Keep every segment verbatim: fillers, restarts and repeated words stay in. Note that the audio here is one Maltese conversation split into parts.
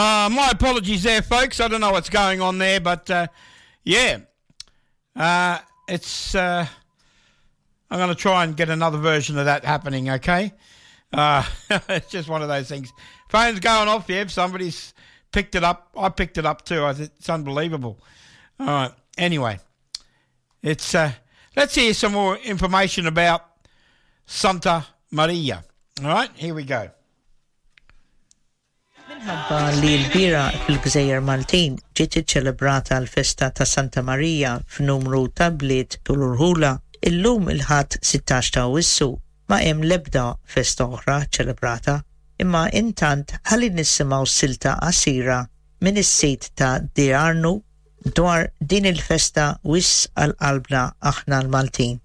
Uh, my apologies there, folks. I don't know what's going on there, but uh, yeah, uh, it's. Uh, I'm going to try and get another version of that happening. Okay, uh, it's just one of those things. Phone's going off. Yeah, if somebody's picked it up. I picked it up too. I th- it's unbelievable. All right. Anyway, it's. Uh, let's hear some more information about Santa Maria. All right, here we go. Minħabba li l-bieraħ fil-Gżejjer Maltin ġiet iċċelebrata l-festa ta' Santa Marija f'numru ta' bliet u rħula, illum il-Ħadd sittax ta' Awwissu ma hemm l-ebda festa oħra ċelebrata, imma intant ħalli nisimgħu silta qasira minn is-sit ta' Diarnu dwar din il-festa wisq għal qalbna aħna l-Maltin.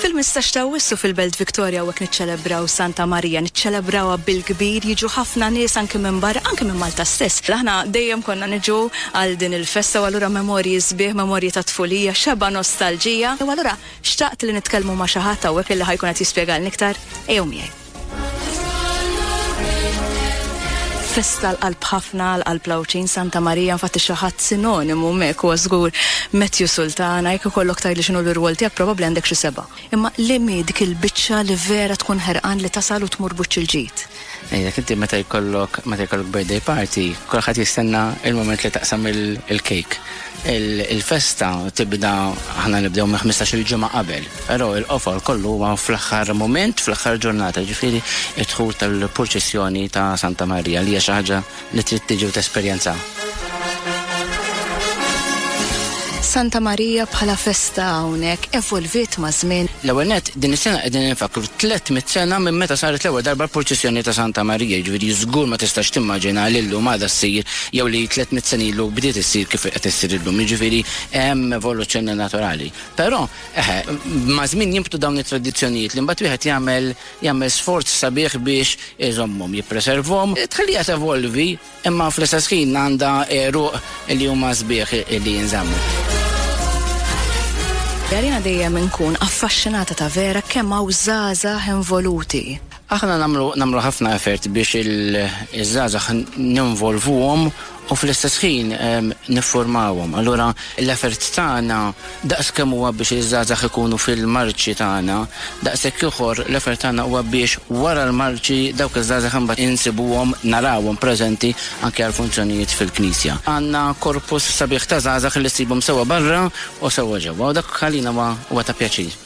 Fil-ħmistax ta' Awwissu fil-Belt Victoria u niċċelebraw Santa Marija, niċċelebrawha bil-kbir, jiġu ħafna nies anke minn barra, anke minn Malta stess. Aħna dejjem konna niġu għal din il-festa u allura memorji sbieħ, memorji ta' tfulija, xeba nostalġija. U allura xtaqt li nitkellmu ma' xi ħadd hawnhekk illi ħa jkun qed jispjegalna iktar. Ejjew miegħi. Festa l-qalb ħafna, l-qalb l-Għawdxin, Santa Marija, infatti xi ħadd sinonimu mek huwa żgur Matthew Sultana, jekk ikollok tgħidli x'inhu l-irwol tiegħek probabbli għandek xi seba'. Imma li mi dik il-biċċa li vera tkun ħerqan li tasal u tmur buċċ il-ġid. Ejja, inti meta jkollok meta jkollok birthday party, kulħadd jistenna il-moment li taqsam il-cake. Il-festa tibda, aħna nibdew minn ħmistax-il ġimgħa qabel, però il-qofol kollu huwa fl-aħħar moment, fl-aħħar ġurnata, ġifieri id-dħul tal-purċissjoni ta' Santa Marija li hija xi ħaġa li trid tiġi u tesperjenza. Santa Marija bħala festa hawnhekk evolviet ma' żmien. L-ewwel nett din is-sena qegħdin infakru tliet mitt sena minn meta saret l-ewwel darba l-purċissjoni ta' Santa Marija, jiġifieri żgur ma tistax timmaġina li llum għadha ssir jew li tliet mitt sena ilu bdiet issir kif qed issir illum, jiġifieri hemm evoluzzjoni naturali. Però eħe, ma' żmien jinbtu dawn it-tradizzjonijiet li mbagħad wieħed jagħmel jagħmel sforz sabiħ biex iżommhom, jippreservhom, tħalliha tevolvi, imma fl-istess ħin għandha għeruq li huma sbieħ li jinżammu. Għalina dejjem nkun affaxxinata ta' vera kemm hawn żgħażagħ involuti. Aħna nagħmlu, nagħmlu ħafna effort biex il-żgħażagħ ninvolvuhom u fl-istess ħin, ehm, niffurmawhom. Allura l-effort tagħna daqs kemm huwa biex iż-żgħażagħ ikunu fil-marċi tagħna, daqshekk ieħor l-effort tagħna huwa biex wara l-marċi dawk iż-żgħażagħ imbagħad insibuhom, narawhom preżenti anke għal funzjonijiet fil-knisja. Għandna korpus sabiħ ta' żgħażagħ li ssibhom sewwa barra u sewwa ġewwa, u dak għalina huwa, huwa ta' pjaċir.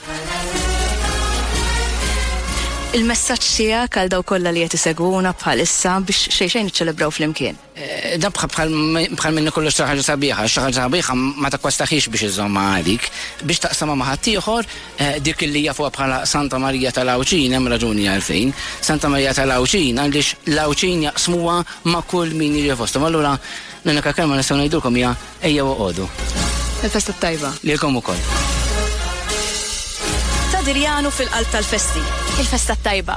Il-messaġġ tiegħek għal dawk kollha li qed isegwuna bħalissa biex xejn xejn niċċelebraw flimkien. Eh, dan bħal, bħal, bħal minni kollu xi ħaġa sabiħa, xi ħaġa sabiħa ma takkwastaħiex biex iżomma għalik, biex taqsamha ma' ħaddieħor, eh, dik li jafuha bħala Santa Marija tal-Għawdxin, hemm raġuni għalfejn. Santa Marija tal-Għawdxin għaliex l-Għawdxin jaqsmuha ma' kull min jiġi fosthom. Allura l-unika kelma nistgħu ngħidulkom hija ejjew oqogħdu. Il-festa tajba. Lilkom ukoll. Ta' Dirjanu fil-qalb tal-festi. Il-festa tajba.